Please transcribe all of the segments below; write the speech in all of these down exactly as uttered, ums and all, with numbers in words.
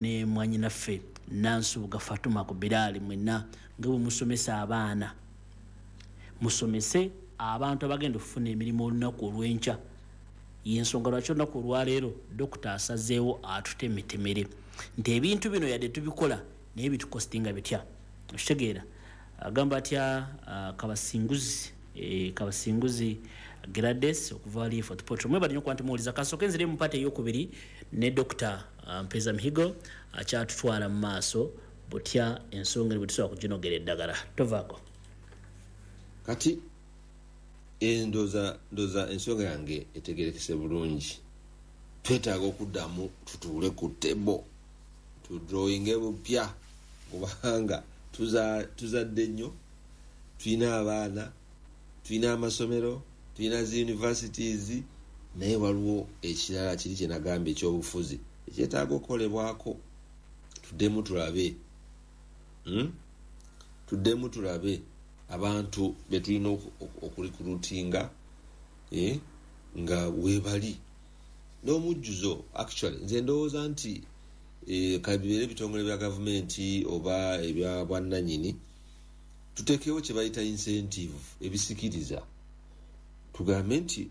Ne mwanyinaffe Nansubuga Fatuma ku Biraali, mwenna nga bwe musomesa abaana, musomese abantu abagenda okufuna emirimu olunaku olw'enkya. Yensonga lwaki olunaku olwaleero Dokita asazeewo atutemetemere nti ebintu bino yadde tubikola, naye bitukostinga bitya? Okitegeera? Agamba atya uh, Kabasinguzi, eh, Kabasinguzi Grades okuva wali Fort Portal. Mwebale nnyo okuba nti muwuliza. Kasooke nzire mu part eyokubiri ne Dokita uh, Mpeza Mihigo akyatutwala mu maaso butya ensonga eri bwe tusobola kuginogera eddagala. Tovaako. Kati ndooza ndooza ensonga yange etegerekese bulungi. Twetaaga okuddamu tutuule ku table, tudrawinge bupya, kubanga tuzadde nnyo, tulina abaana, tulina amasomero, tulina zi universities, naye waliwo ekirala kiri kyenagambye ekyobufuzi ekyetaaga okukolebwako. Tuddemu tulabe, hmm? Tuddemu tulabe abantu betulina okurecruitinga, eh, nga webali n'omujjuzo. Actually, nze ndowooza nti eh, kabibeere ebitongole bya gavumenti oba ebya bwannanyini, tuteekewo kye bayita incentive, ebisikiriza. Tugambe nti,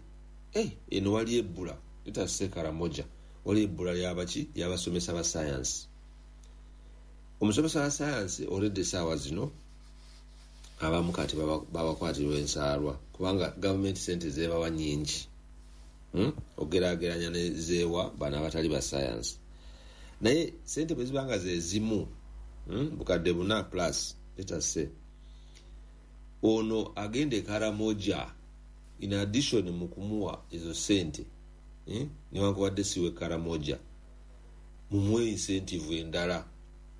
hey, eno wali ebbula, let us say Karamoja wali ebbula lyabaki? Lyabasomesa ba science. Omusomesa wa science already esaawa zino abamu kati babakwatirwa ensaalwa, kubanga gavumenti sente zebawa nyingi, hmm? Ogerageranya nezeewa bano abatali ba science. Naye sente bwe ziba nga zezimu, hmm? bukadde buna plus, let us say, ono agenda e Karamoja, in addition mu kumuwa ezo sente, eh? newankubadde siwe Karamoja, mumuwe incentive endala.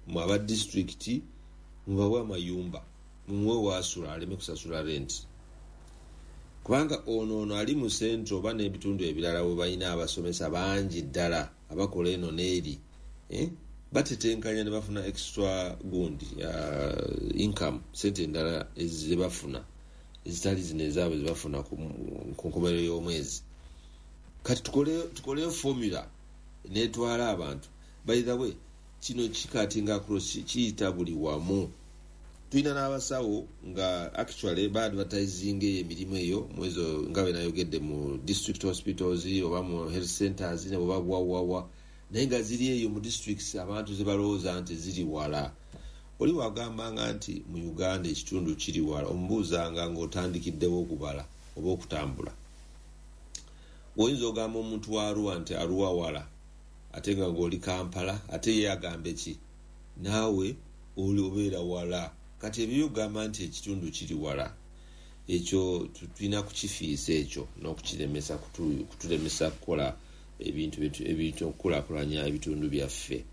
Mu aba disitulikiti mubawe amayumba, mumuwe waasula aleme kusasula rent, kubanga ono ono ali mu central oba n'ebitundu ebirala we balina abasomesa bangi ddala abakola eno n'eri, eh? batetenkanya ne bafuna extra gundi, uh, income, sente endala zebafuna ezitali zino ezaabwe zebafuna ku nkomerero y'omwezi. Kati tukoleyo formula netwala abantu. By the way, kino kicuttinga across, kiyita buli wamu. Tulina n'abasawo nga actually baadvertising eyo emirimu eyo mwezo nga bwe nayogedde mu district hospitals oba mu health centers oba wawawa, naye nga ziri eyo mu districts abantu zebalowooza nti ziri wala. Oli wagambanga nti mu Uganda ekitundu kiri wala, omubuuzanga ng'otandikiddewo okubala oba okutambula. Oyinza ogamba omuntu wa Arua nti Arua wala, ate nga ng'oli Kampala, ate ye agambe ki? Naawe oli obeera wala. Kati ebyo byokugamba nti ekitundu kiri wala, ekyo tulina kukifiisa ekyo n'okukiremesa kutulemesa kukola ebintu ebintu okukulaakulanya ebitundu byaffe.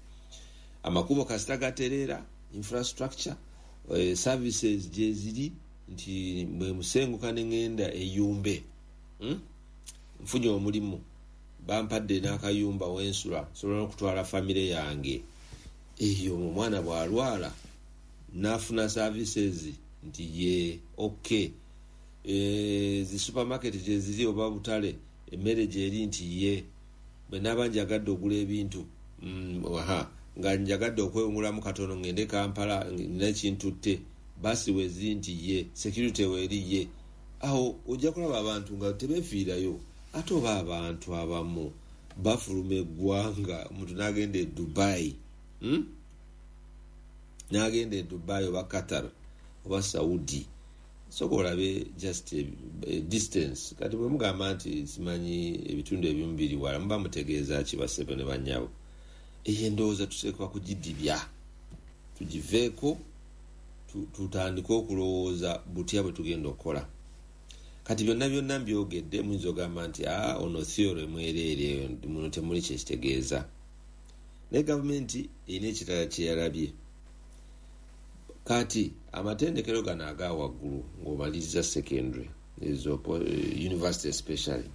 Amakubo kasita gatereera, infrastructure, eh, services gyeziri nti bwe musenguka ne ŋŋenda eyumbe, hmm? nfunye omulimu, bampadde n'akayumba wensula, nsobola n'okutwala famire yange eyo, omwana bw'alwala n'afuna services nti ye okay, e, zi supermarket gyeziri oba butale, emmere gyeri nti ye bwe naaba njagadde ogula ebintu, mm, aha, nga njagadde okwewungulamu katono ngende Kampala nina ekintutte, basi weziri nti ye security weeri ye awo ojja kulaba abantu nga tebeefiirayo. Ate oba abantu abamu bafuluma eggwanga, omuntu n'agenda e Dubai, hmm? n'agenda e Dubai oba Qatar oba Saudi, soka olabe just a, a distance. Kati bwe mugamba nti simanyi ebitundu ebimu biri wala, muba mutegeeza ki, basebo ne bannyabo? Eyo endowooza tuteekwa kugidibya, tugiveeko, tutandike okulowooza butya bwe tugenda okukola. Kati byonna byonna mbyogedde, muyinza ogamba nti aa ono theory mwereere, muno temuli kyekitegeeza. Naye gavumenti erina ekirala kyeyalabye. Kati amatendekero gano aga waggulu, ng'omaliriza secondary, ezo university especially,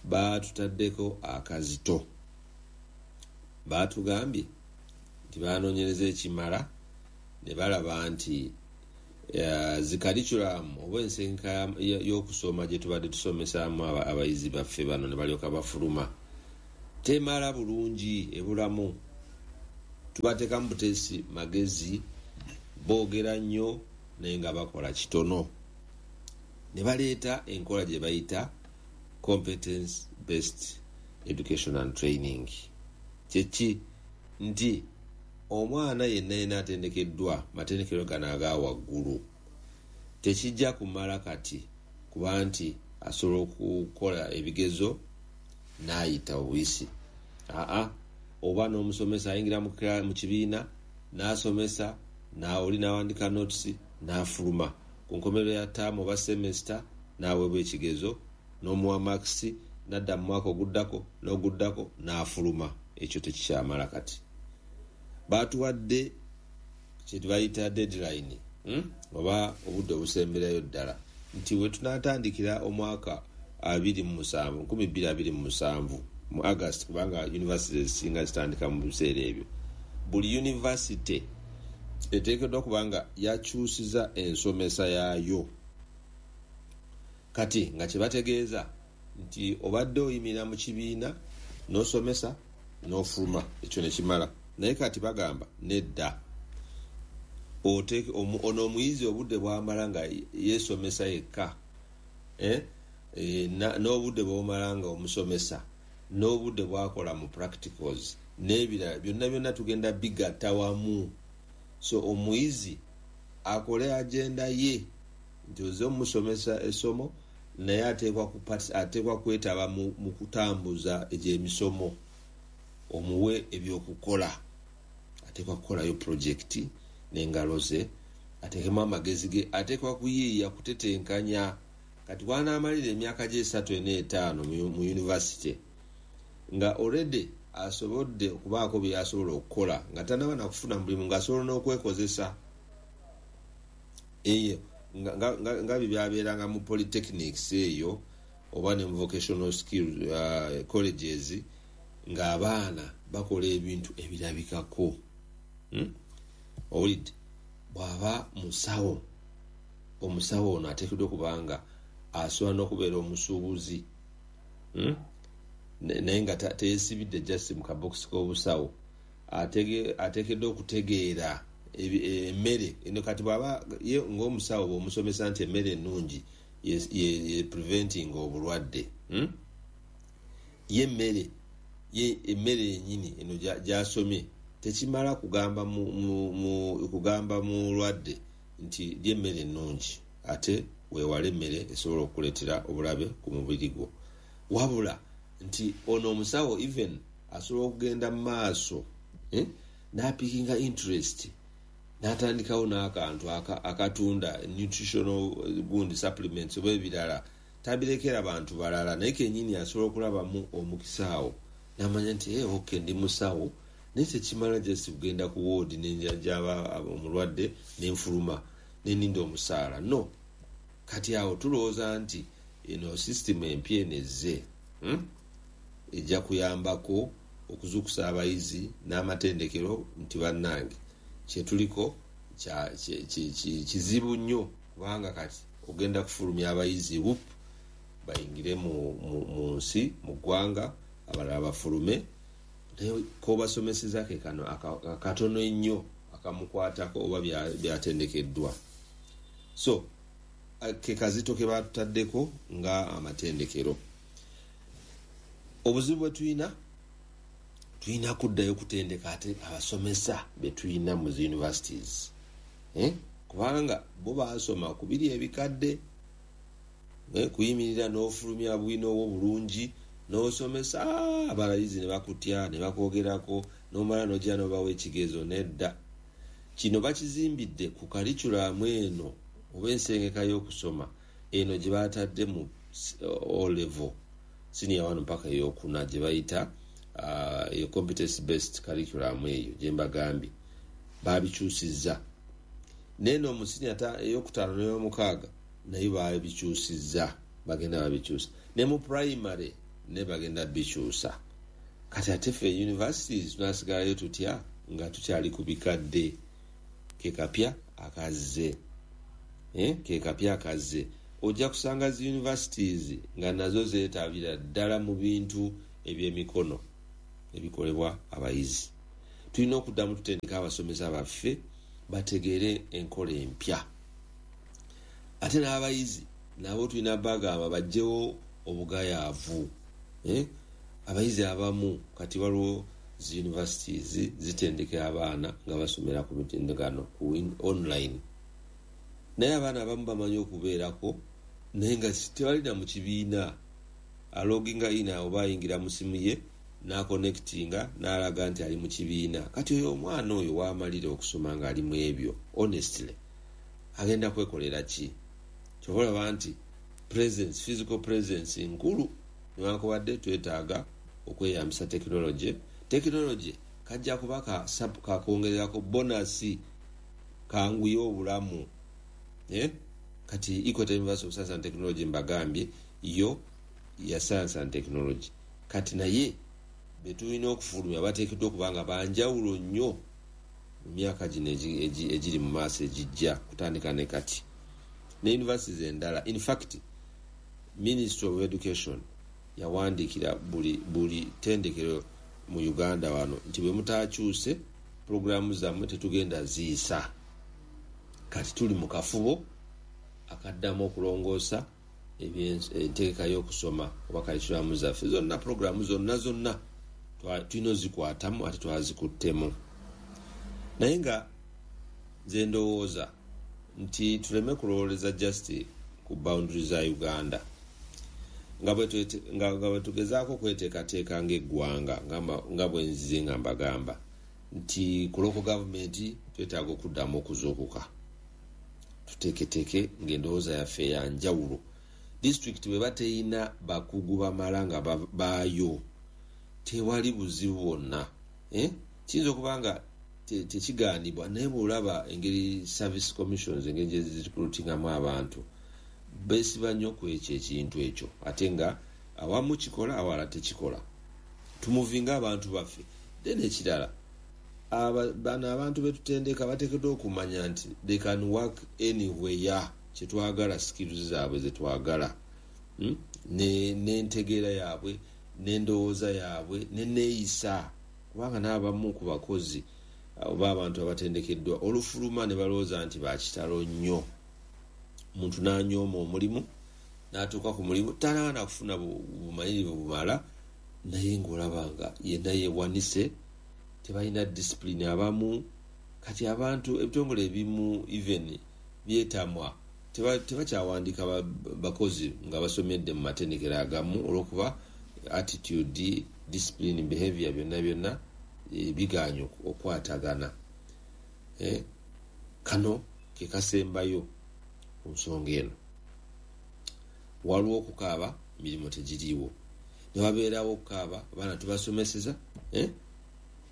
baatutaddeko akazito. Baatugambye nti banoonyereza ekimala ne balaba nti zi curriculum oba ensengeka y'okusoma gye tubadde tusomesaamu abayizi baffe bano ne balyoka bafuluma temala bulungi, ebulamu. Tubateekamu buteesi magezi, boogera nnyo naye nga bakola kitono. Ne baleeta enkola gye bayita competence based education and training. Kyeki? Nti omwana yenna yenna atendekeddwa matendekero gano aga waggulu, tekijja kumala kati kuba nti asobola okukola ebigezo n'ayita obuyisi. Aa, oba n'omusomesa ayingira mu kibiina n'asomesa, oli n'awandika notes n'afuluma ku nkomerero ya ttaamu oba semester n'aweebwa ekigezo n'omuwa marks, n'adda mu mwaka oguddako n'oguddako n'afuluma. Ekyo tekikyamala. Kati batuwadde kye bayita deadline, hmm? oba obudde obusemberayo ddala, nti we tunaatandikira omwaka abiri mu musanvu, nkumi bbiri abiri mu musanvu mu August, kubanga university ezisinga zitandika mu biseera ebyo, buli university eteekeddwa kubanga yakyusiza ensomesa yaayo. Kati nga kyebategeeza nti obadde oyimirira mu kibiina n'osomesa n'ofuluma, ekyo ne kimala. Naye kati bagamba nedda, ono omuyizi obudde bwamala nga yeesomesa yekka, eh? e, n'obudde bwomala nga omusomesa, n'obudde bwakola mu practicals n'ebirala byonna byonna tugenda bigatta wamu. So omuyizi akole agenda ye nti oze omusomesa essomo, naye ateekwa kwetaba mu kutambuza egy'emisomo, omuwe ebyokukola. Ateekwa kukolayo projekiti n'engalo ze, ateekemu amagezi ge, ateekwa kuyiiya, kutetenkanya. Kati bw'anaamalira emyaka gy'esatu ena etaano mu university nga already asobodde okubaako bye asobola okukola nga tannaba nakufuna mulimu, ng'asobola n'okwekozesa eyo nga bye byabeeranga mu polytechnics eyo oba ne mu vocational skill uh, colleges, ng'abaana bakola ebintu ebirabikako. hmm? Owulidde? Bw'aba musawo, omusawo ono ateekeddwa okubanga asobola n'okubeera omusuubuzi, hmm? naye nga teyesibidde just mu kabokisi k'obusawo. Ateekeddwa okutegeera emmere eno. Kati bw'aba ye ng'omusawo, bw'omusomesa nti emmere ennungi ye preventing obulwadde, hmm? ye emmere ye emmere yennyini eno gy'asomye tekimala kugamba mu, mu, mu, kugamba mulwadde nti lya emmere ennungi ate weewale emmere esobola okukuleetera obulabe ku mubiri gwo, wabula nti ono omusawo even asobola okugenda mu maaso, eh, n'apickinga interest n'atandikawo n'akantu akatunda nutritional gundi supplements oba ebirala. Tabirekera bantu balala, naye kenyini asobola okulabamu omukisa awo n'amanya nti hey, okay, ndi musawo, naye tekimala just kugenda ku woodi nenjanjaba omulwadde nenfuluma neninda omusaala. No, kati awo tulowooza nti eno system empya eno ezze, hmm? ejja kuyambako okuzuukusa abayizi n'amatendekero nti bannange, kyetuliko kizibu nnyo, kubanga kati ogenda kufulumya abayizi wup bayingire mu, mu, mu nsi, mu ggwanga, abalala bafulume, naye kobasomeseza ke kano akatono ennyo akamukwatako oba byatendekeddwa. So ke kazito ke batutaddeko nga amatendekero. Obuzibu bwe tulina, tulina kuddayo kutendeka ate abasomesa be tulina mu zi universities, eh? kubanga bo baasoma ku biri ebikadde, eh? kuyimirira n'ofulumya bwino obwo bulungi n'osomesa abayizi ne bakutya ne bakwogerako, n'omala n'ojja n'obawa ekigezo. Nedda, kino bakizimbidde ku curriculum eno oba ensengeka y'okusoma eno gye batadde mu O level, senior one mpaka eyokuna, gye bayita eyo uh, competence based curriculum eyo gye mbagambye babikyusizza. Neno mu senior eyokutaano n'eyomukaaga naye babikyusizza, bagenda babikyusa ne mu primary ne bagenda bikyusa. Kati ate ffe universities tunasigalayo tutya nga tukyali ku bikadde? Ke kapya akazze, eh? ke kapya akazze. Ojja kusanga zi universities nga nazo zeetabira ddala mu bintu ebyemikono ebikolebwa abayizi. Tulina okuddamu tutendeka abasomesa baffe bategeere enkola empya. Ate n'abayizi nabo tulina bagamba bajjewo obugayaavu. Eh? Abayizi abamu kati waliwo zi universities zitendeka abaana nga basomera ku mitimbagano, ku online, naye abaana abamu bamanyi okubeerako naye nga tebalina mu kibiina. Aloginga in oba ayingira mu simu ye n'aconnectinga n'alaga nti ali mu kibiina. Kati oyo omwana oyo waamalira okusoma ng'ali mu ebyo, honestly agenda kwekolera ki? Kyova olaba nti presence, physical presence nkulu, newankubadde twetaaga okweyambisa tekinologi. Tekinologi kajja kuba kakwongererako bonus, kanguye obulamu. Eh? Kati Equator University of Science and Technology mbagambye yo ya science and technology. Kati naye betulina okufulumya bateekeddwa okuba nga banjawulo nnyo mu myaka gino egiri mu maaso egijja kutandika ne kati ne universities endala. In fact, Ministry of Education yawandiikira buli buli ttendekero mu Uganda wano nti bwe mutakyuse puroguramu zammwe tetugenda ziyisa. Kati tuli mu kafubo akaddamu okulongoosa entegeka y'okusoma oba curriculum zaffe zonna, puroguramu zonna zonna tulina ozikwatamu ate twazikuttemu. Naye nga nze ndowooza nti tuleme kulowooleza just ku boundary za Uganda, nga bwe tugezaako okweteekateeka ng'eggwanga, nga bwe nzize nga mbagamba nti ku local government twetaaga okuddamu okuzuukuka, tuteeketeeke ng'endowooza yaffe ya njawulo. Disitulikiti bwe bateyina bakugu bamala nga baayo, tewali buzibu bwonna. Kiyinza okuba nga tekigaanibwa, naye bw'olaba engeri service commissions engeri gye zirecruitingamu abantu, beesiba nnyo ku ekyo ekintu ekyo, ate nga awamu kikola awalala tekikola. Tumuvinga abantu baffe. Then ekirala, bano abantu betutendeka bateekeddwa okumanya nti they can work anywhere. Kyetwagala skills zaabwe zetwagala, n'entegeera yaabwe n'endowooza yaabwe n'enneeyisa, kubanga n'abamu ku bakozi oba abantu abatendekeddwa olufuluma ne balowooza nti bakitalo nnyo. Omuntu n'anyooma omulimu n'atuuka ku mulimu tanaana kufuna bumanyirivu bumala, naye ng'olaba nga yenna yeewanise, tebalina discipline abamu. Kati abantu ebitongole ebimu even byetamwa, tebakyawandiika bakozi nga basomedde mu matendekero agamu olw'okuba attitude, discipline, behavior byonna byonna bigaanye okukwatagana. Kano ke kasembayo ku nsonga eno. Waliwo okukaaba, emirimu tegiriiwo, ne wabeerawo okukaaba, abaana tubasomeseza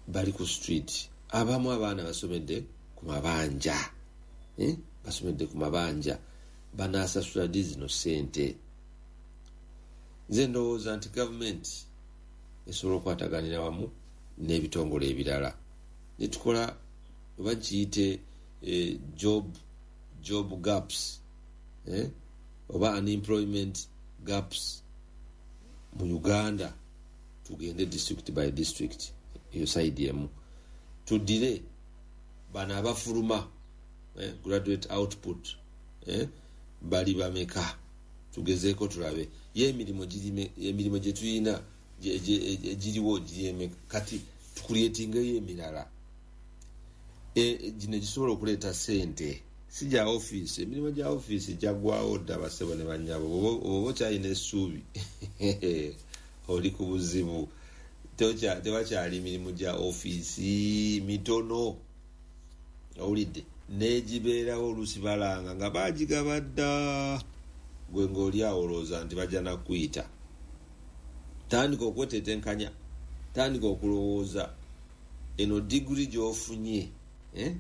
bali ku street. Abamu abaana basomedde ku mabanja, basomedde ku mabanja, banaasasula ddi zino ssente? Nze ndowooza nti gavumenti esobola okukwataganira wamu n'ebitongole ebirala ne tukola oba kiyite job job gaps oba unemployment gaps mu Uganda. Tugende district by district, eyo side emu. Tuddire bano abafuluma, graduate output bali bameka, tugezeeko tulabe ye emirimu emirimu gye tulina egiriwo giri. Kati tucreatingeyo emirala gino egisobola okuleeta ssente, si gya ofiisi. Emirimu gya ofiisi gyaggwawo dda, bassebo ne bannyabo. Oba okyalina essuubi oli ku buzibu. Tebakyali mirimu gya ofiisi mitono, owulidde, n'egibeerawo oluusi balanga nga baagigaba dda, gwe ng'oli awo olowooza nti bajja nakuyita. Tandika okwetetenkanya, tandika okulowooza eno diguri gy'ofunye, eh?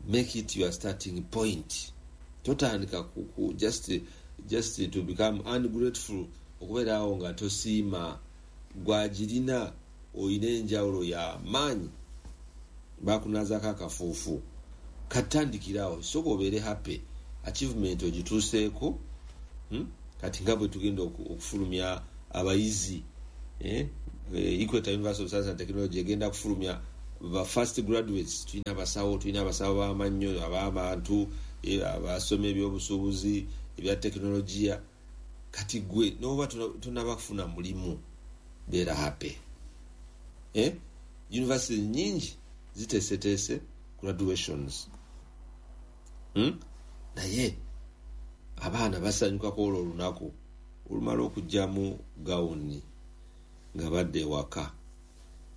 Make it your starting point. Totandika ku just, just to become ungrateful, okubeera awo nga tosiima gwagirina. Oyina enjawulo ya maanyi, bakunazaako akafuufu. Katandikirawo, sooka obeere happy, achievement ogituuseeko. hmm? Kati nga bwe tugenda okufulumya abayizi, eh? Equator University of Science and Technology egenda kufulumya Ba first graduates, tulina abasawo, tulina abasawo b'amannyo, ab'abantu abasoma ebyobusuubuzi, ebya tekinologiya. Kati gwe noba tonaba kufuna mulimu, beera happy. Eh? University nyingi ziteeseteese graduations, hmm? Naye abaana basanyukako olwo olunaku olumala okugyamu gawuni nga badde ewaka.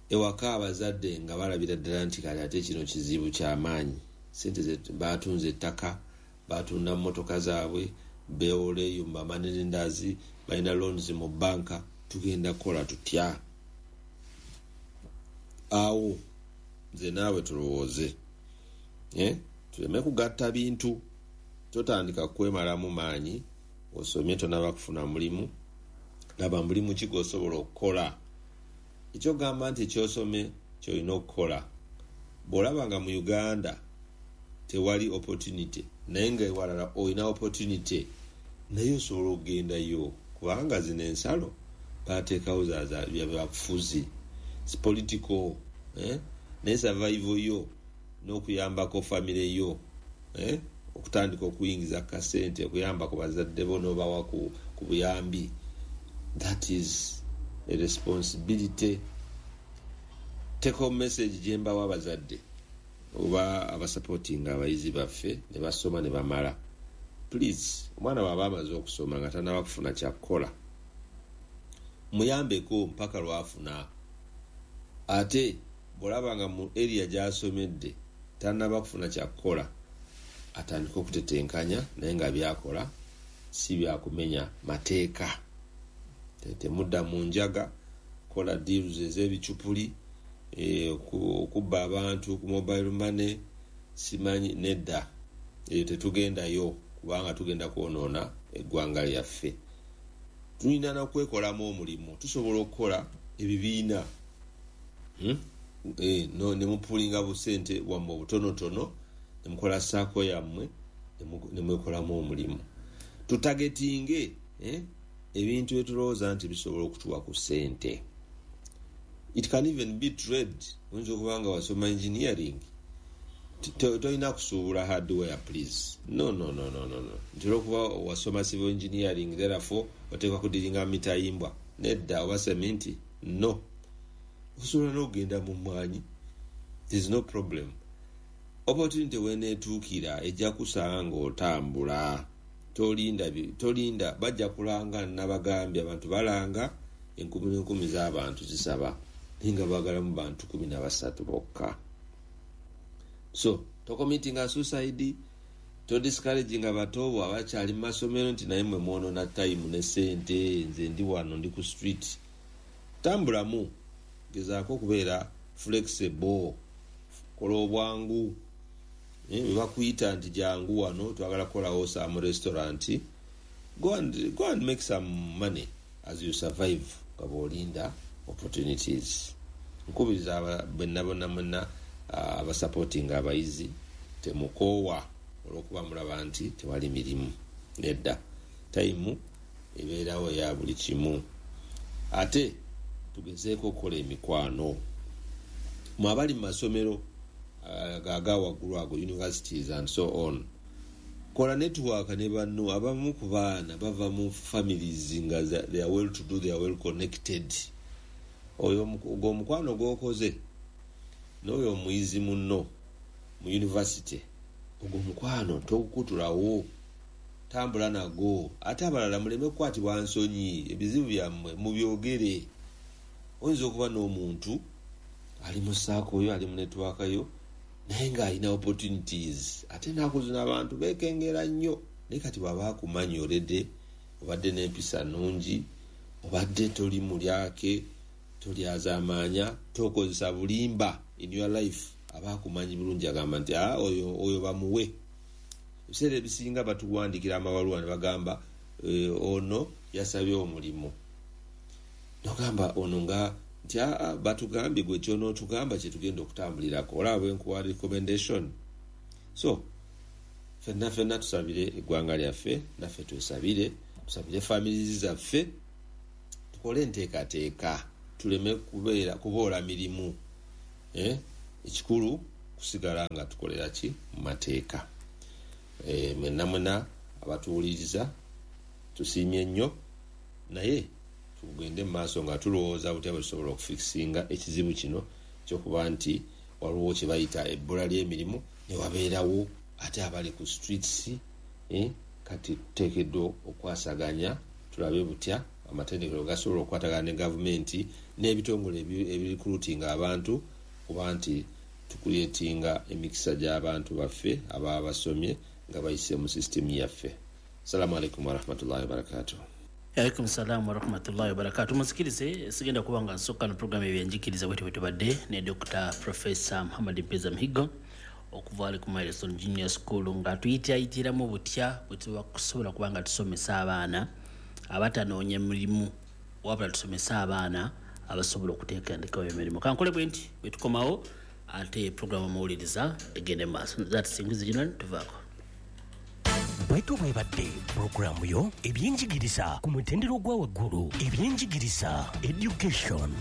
Ewaka abazadde nga balabira ddala nti kale ate kino kizibu kyamaanyi, sente batunze ettaka, batunda mmotoka zaabwe, beewoleeyo mu bamoney-lenders, balina loans mu banka, tugenda kukola tutya? Awo nze naawe tulowooze, eh? Tuleme kugatta bintu. Totandika kwemalamu maanyi, osomye tonaba kufuna mulimu. Laba mulimu ki gw'osobola okukola. Ekyogamba nti ekyosome kyolina okukola, bw'olaba nga mu Uganda tewali opportunity, naye nga ewalala olina opportunity, naye osobola okugendayo, kubanga zino ensalo bateekawo byabufuzi, political, eh? Naye survival yo n'okuyambako famire yo, eh? Okutandika okuyingiza kasente, okuyamba ku bazadde bo n'obawa ku, ku buyambi, that is a responsibility. Take home message gyembawa abazadde oba abasupportinga abayizi baffe ne basoma ne bamala, please, omwana bw'aba amaze okusoma nga tanaba kufuna kyakukola, muyambeko mpaka lwafuna. Ate bw'olaba nga mu area gy'asomedde tanaba kufuna kyakukola, atandika okutetenkanya, naye nga byakola si byakumenya mateeka. Temudda mu njaga, kola deals ez'ebicupuli, okubba abantu ku mobile money, simanyi, nedda, eyo tetugendayo, kubanga tugenda kwonoona eggwanga lyaffe. Tulina n'okwekolamu omulimu, tusobola okukola ebibiina, hmm? E, no, ne mupulinga busente bwammwe obutonotono, ne mukola SACCO yammwe, ne mwekolamu omulimu. Tutagetinge eh? ebintu byetulowooza nti bisobola okutuwa ku ssente. It can even be trade. Oyinza okuba nga wasoma engineering, tolina kusuubula hardware, please. No, no, no, no, no, no. Nti olwokuba wasoma civil engineering, therefore oteekwa kudiringa mitayimbwa, nedda, oba seminti, no. Osobola n'okugenda mu mmwanyi, there is no problem. Opportunity weneetuukira ejja kusanga ng'otambula. Tolinda, tolinda, bajja kulanga. Nabagambye, abantu balanga, enkumi n'enkumi z'abantu zisaba, naye nga baagalamu bantu kumi na basatu bokka. So tocommittinga suicide, todiscouraginga bato abakyali mu masomero nti naye mwe mwonoona time ne sente, nze ndi wano, ndi ku street. Tambulamu, gezaako okubeera flexible, kola obwangu. Bwe bakuyita nti jangu wano, twagala kukolawo some restaurant, go and, go and make some money as you survive nga bw'olinda opportunities. Nkubiriza bwenna bonna mwenna abasupportinga abayizi, temukoowa olw'okuba mulaba nti tewali mirimu, nedda, time ebeerawo ya buli kimu. Ate tugezeeko okukola emikwano. Mwe abali mu masomero aga waggulu ago, universities and so on, kola network ne banno. Abamu ku baana bava mu families nga they are well to do, they are well connected. Oyo ogwo omukwano gw'okoze n'oyo omuyizi munno mu university, ogwo omukwano togukutulawo, tambula nagwo. Ate abalala muleme kukwatibwa nsonyi, ebizibu byammwe mubyogere. Oyinza okuba n'omuntu ali mu SACCO yo, ali mu network yo, naye ng'alina opportunities. Ate ennaku zino abantu beekengera nnyo, naye kati bw'aba akumanyi already, obadde n'empisa nnungi, obadde toli mulyake, tolyazaamaanya, tokozesa bulimba in your life, aba akumanyi bulungi, agamba nti ah, oyo, oyo bamuwe. Ebiseera ebisinga batuwandikira amabaluwa ne bagamba e, ono yasabye omulimu, nogamba ono nga nti aa, batugambye gwe kyonootugamba kyetugenda okutambulirako, olaba bwenkuwa recommendation. So fenna fenna tusabire eggwanga lyaffe, naffe twesabire, tusabire families zaffe, tukole enteekateeka, tuleme kubeera kuboola mirimu, eh? Ekikulu kusigala nga tukolera ki mu mateeka. E, mwenna mwena abatuwuliriza tusiimye nnyo, naye tugende mu maaso nga tulowooza butya bwe tusobola okufikisinga ekizibu kino kyokuba nti waliwo kye bayita ebbula ly'emirimu ne wabeerawo ate abali ku streets. eh, kati tuteekeddwa okwasaganya tulabe butya amatendekero gasobola okukwatagana ne gavumenti n'ebitongole ebirikulutinga abantu, kuba nti tukuleetinga emikisa gy'abantu baffe ababa basomye nga bayise mu sisitemu yaffe. Assalamu alaikum warahmatullahi wabarakatuh. Alaikum salamu warahmatullahi wabarakatuh. Musikirize, sigenda kuba nga nsooka no programu ebyenjigiriza bwetyo bwe tubadde ne Doctor Professor Muhammad Mpeza Mihigo okuva ali ku Milestone Junior School, nga tuyitayitiramu butya bwe tuba kusobola kuba nga tusomesa abaana abatanoonya mirimu, wabula tusomesa abaana abasobola okuteekandikawo emirimu. Kankole bwe nti bwe tukomawo ate programu omuwuliriza egende mu maaso. Zatusingiza gino tuvaako. Bwetyo bwebadde pulogulaamu yo ebyenjigiriza ku mutendera ogwa waggulu, ebyenjigiriza education.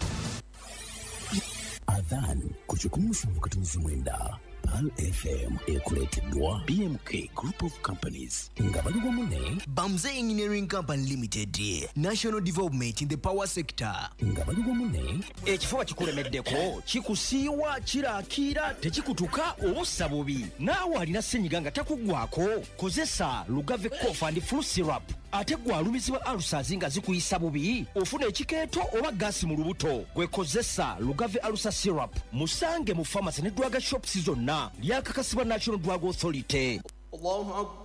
Adhan ku kikumi musanvu katonzi mwenda Pearl F M ekuleeteddwa B M K Group of Companies nga bali wamu ne Bamze Engineering Company Limited, National Development in the Power Sector nga bali wamu ne ekifuba kikulemeddeko, kikusiiwa, kirakiira, tekikutuka obussa bubi. Naawe alina ssenyiga nga takuggwako, kozesa Lugave Cough and Flu Syrup. Ate gwe alumizibwa ulcers nga zikuyisa bubi, ofuna ekikeeto oba gaasi mu lubuto, gwe kozesa Lugave Ulcer Syrup. Musange mu pharmacy ne drug shops zonna. Lyakakasibwa National Drug Authority. Allahu Akbar.